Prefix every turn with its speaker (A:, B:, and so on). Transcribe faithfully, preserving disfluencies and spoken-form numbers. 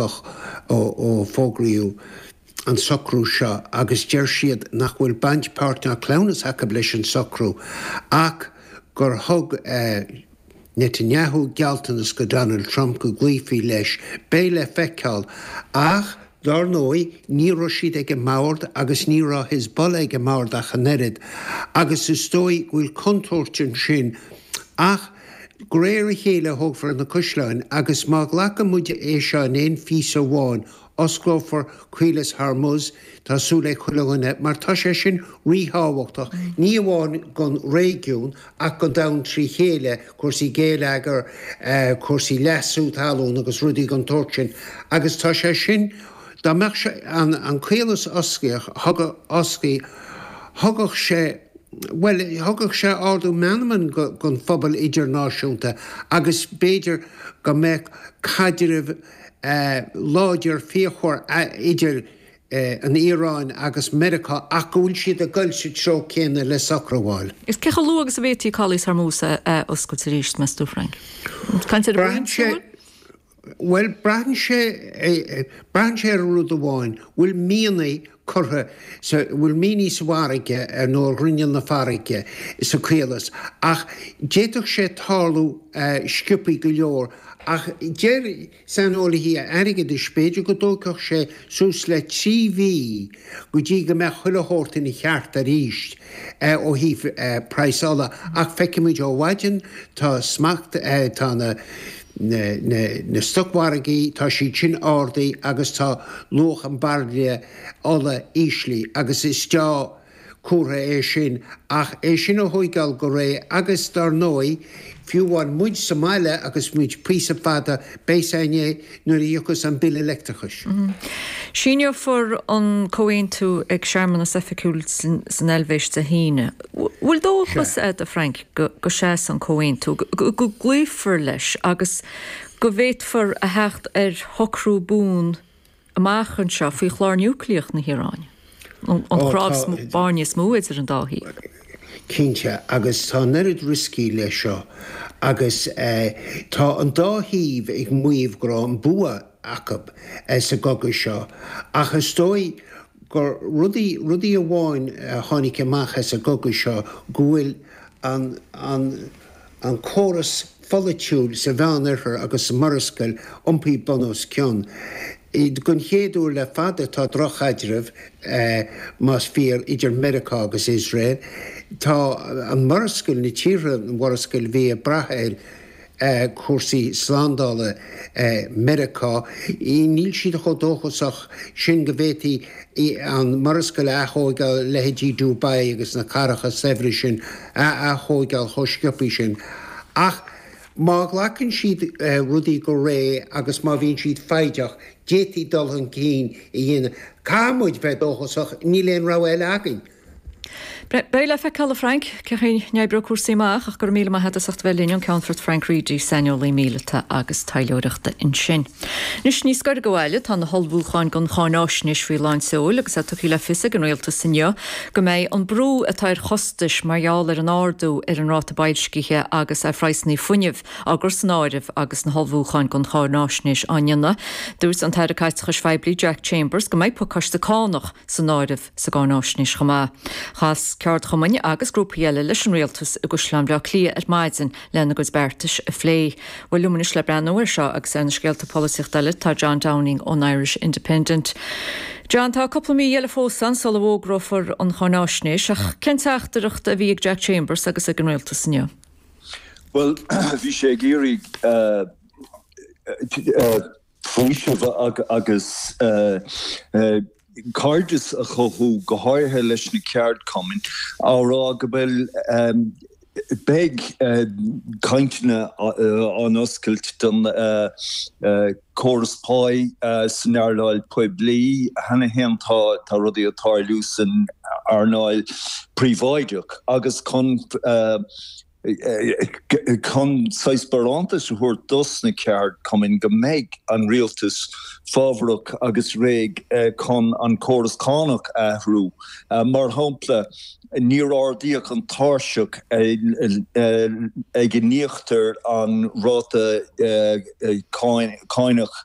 A: spreagadh ó, ó fógraíodh an socrú seo agus deir siad nach bhfuil baint páirt ná cleamhnas acu leis an socrú ach gur thug eh, Netanyahu gealltanas go Donald Trump go gcloífí leis beidh le feiceáil ach Dar ndóigh ní raibh siad ag an mbord agus ní raibh Hezbollah ag an mbord ach an oiread agus is dóigh go bhfuil contúirt ansin ach de réir a chéile thógfar na caisleáin agus má ghlacann muid é seo in aon phíosa amháin osclófar Caolas Hormuz tá súil ag chuile dhuine mar tá sé sin ríthábhachtach ní amháin don réigiún ach don domhan trí chéile cúrsaí géilleagair eh, cúrsaí leasú talún agus rudaí den tsórt sin agus tá sé sin dá mbeadh sé an, an caolas oscailte oscailte thugadh sé Well, thugadh sé ardú meanman don phobal idirnáisiúnta agus b'fhéidir go mbeadh caidreamh eh, láidir fíochmhar idir eh, an Iaráin agus Meiriceá ach go bhfuil siad ag dul sa treo céanna le socrú a fháil.
B: Is cé chomh luath agus a bhféadfaí Caolas Hormuz a oscailt arís meas tú Frank.
A: Braitheann sé Well braitheann sé braitheann sé ar rud amháin, bhfuil mianaigh curtha bhfuil mianaigh sa bhfarraige ar nó rinneal na farraige sa chaolas ach d'fhéadfadh sé tarlú sciobtha go leor ach deir saineolaithe airgeadais b'fhéidir go dtógfadh sé suas le trí mhí go dtí go mbeadh chuile shórt ina cheart arís ó thaobh praghas ola ach feicimid ó mhaidin tá smacht tá na na, na, na stocmhargaí tá siad sin ardaithe agus tá luach an bhairille ola íslithe agus is dea-chomhartha é sin ach é sin a thógáil go réidh agus dar ndóigh fiú amháin muid sa mbaile agus muid píosa fada beidh nuair a thiocfas an bille leictreachais.
B: Mm -hmm. Síneofar an comhaontú ag searmanas oifigiúil san Eilvéis Dé hAoine. Bhfuil dóchas agat a Frank go, go seas an comhaontú, go, go gcloífear leis agus go bhféadfar a theacht ar shocrú buan amach anseo faoi chlár núicléach na hIaráine. An chnámh spairne is mó idir an dá thaobh.
A: Cinnte agus tá neart rioscaí leis seo agus eh, tá an dá thaobh ag maíomh go raibh an bua acu eh, sa gcogadh seo ach is dóigh gur rudaí rudaí amháin a tháinig amach as an gcogadh seo go bhfuil an, an, an córas polaitiúil sa Mheánoirthear agus sa Mhurascaill iompaithe bun os cionn. Don chéad uair le fada tá drochchaidreamh eh, más fíor idir Meiriceá agus Iosrael. Tá an Mhurascaill na tíortha an Mhurascaill bhí ag brath ar eh, cúrsaí slándála eh, Meiriceá, níl siad chomh dóchasach sin go bhféadfaí an Mhurascaill a atógáil leithéidí Dubai agus na cathracha saibhre sin a atógáil chomh sciobtha sin. Ach má ghlacann siad uh, rudaí go réidh agus má bhíonn siad foighdeach, d'fhéadfaí dul chun cinn a dhéanamh. Caithfidh muid bheith dóchasach níl aon rogha eile againn.
B: Beidh le feiceáil Frank cén chaoi a n-oibreoidh cúrsaí amach ach gur míle maith as bheith linn an Ceannfort Frank Reidy saineolaí míleata agus taidhleoireachta ansin. Anois níos gaire do bhaile tá na hullmhúcháin don cháinaisnéis faoi lán seoil agus é tugtha le fios ag an rialtas inniu go mbeidh an brú atá ar chostais mar gheall ar an ardú ar an ráta boilscithe agus ar phraghsanna fuinnimh á gcur san áireamh agus na hullmhúcháin don cháinaisnéis á ndéanamh. Dúirt an tAire Caiteachais Phoiblí Jack Chambers go mbeidh pacáiste cánach san áireamh sa gcáinaisnéis chomh maith. Chas ceardchumainn agus grúpaí eile leis an rialtas i gCaisleán Bhaile Átha Cliath ar maidin lena gcuid beartais a phlé. Bhuel liom anois le breathnú air seo agus ar na scéalta polaitíochta eile tá John Downing ón Irish Independent. John tá cúpla mí eile fós ann sula bhfógrófar an cháinaisnéis ach cén teachtaireacht a bhí ag Jack Chambers agus ag an rialtas inniu.
C: Well bhí sé ag iarraidh uh, uh, faoiseamh agus uh, uh, cairdeas a chothú go háirithe leis na ceardchumainn á rá go bhfuil um, beidh uh, cainteanna uh, ar oscailt don uh, uh, córas páí uh, san earnáil poiblí cheana féin tá tá rudaí ag tarlú san earnáil príobháideach agus chun uh, chun saghas barántas a thabhairt dos na ceardchumainn go mbeidh an rialtas fábharach agus réidh chun an córas cánach a athrú. Mar shampla níor ardaíodh an tairseach ag a n-íoctar an ráta cánach